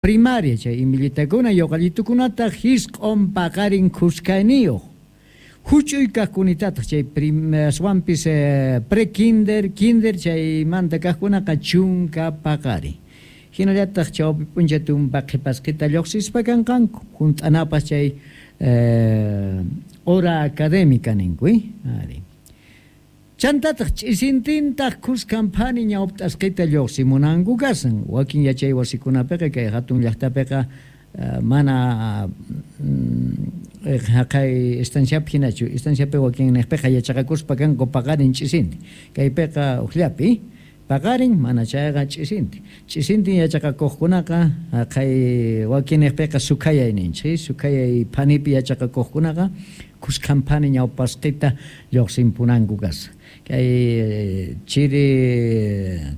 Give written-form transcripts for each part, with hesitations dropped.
Primaria chay imillitakuna yoqallitukunataq jisq'on paqarin khuskayniyuq. Huch'uy kaqkunitataq chay aswanpis pre-kinder, kinder chaymanta kaqkunaqa chunka paqarin. Hinallataq chawpi p'unchay tumpa qhipasqita lluqsispa kanqanku, hunt'anapaq chay hora académica ninku, ari. Chantataq ch'isintintaq khuskan phani ñawpt'asqita lluqsimunanku kasan. Wakin yachay wasikunapiqa kay hatun llaqtapiqa mana haqay estanciapi hinachu. Estanciapi wakin niqpiqa yachaqakuspa kanku paqarin ch'isintin. Kaypiqa hukllapi paqarin, mana chayqa ch'isintin. Ch'isintin yachaqakuqkunaqa haqay wakin niqpiqa sukhayay ninchik. Sukhayay phanipi yachaqakuqkunaqa khuskan phani ñawpasqita lluqsimpunanku kashan. Kay chiri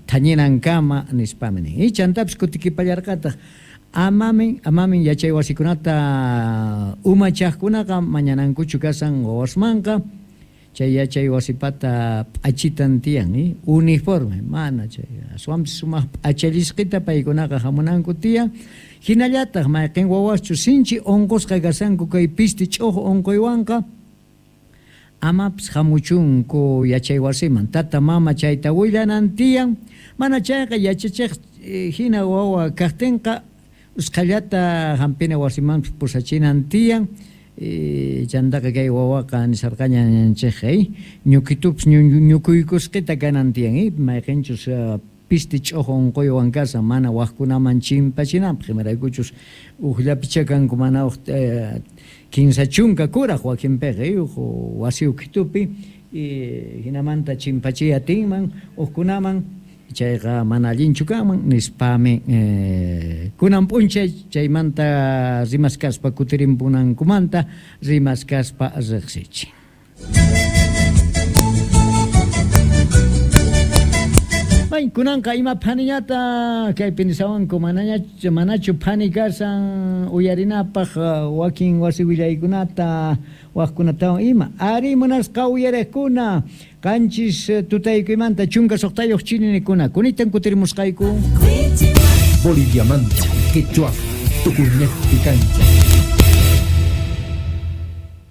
thañinankama nispami nin. Y chantapis kutikipallarqataq amamin amamin yachay wasikunata umachaqkunaqa mañanankuchu kasan wawasmanqa chay yachay wasipata p'achitan tiyan, uniforme mana chay aswanpis sumaq p'achallisqita paykunaqa hamunanku tiyan. Hinallataq mayqin wawaschu sinchi unqusqa kasanku kay pisti ch'uju unquywanqa amapis hamuchunku yachay wasiman tata mama chayta willanan tiyan, mana chayqa yachachiq hina wawa kaqtinqa usqhallata hampina wasimanpis pusachinan tiyan. Chantaqa kay wawaqa nisarqaña ñanchikqa, ñukitupis ñukuykusqita kanan tiyan, mayqinchus pisti ch'uju unquywan kasan mana waqkunaman chimpachinanpaq, imaraykuchus hukllapichá kanku mana huk 30 kuraq wakinpiqa huk wasi ukhitupi hinamanta chimpachiy atinman hukkunaman, chayqa mana allinchu kanman nispami kunan p'unchay chaymanta rimaskaspa kutirimpunankumanta rimaskaspa riqsichin. May kunanqa ima phaniñata kaypi nisawanku manachu phani kasan uyarinapaq wakin wasi willaykunata waqkunatawan ima. Ari munasqa uyariqkuna 7 tutaykuymanta 16 chininikuna kunitan kutirimusqayku. Boliviamanta, Quechua, Tukuñejpi kancha.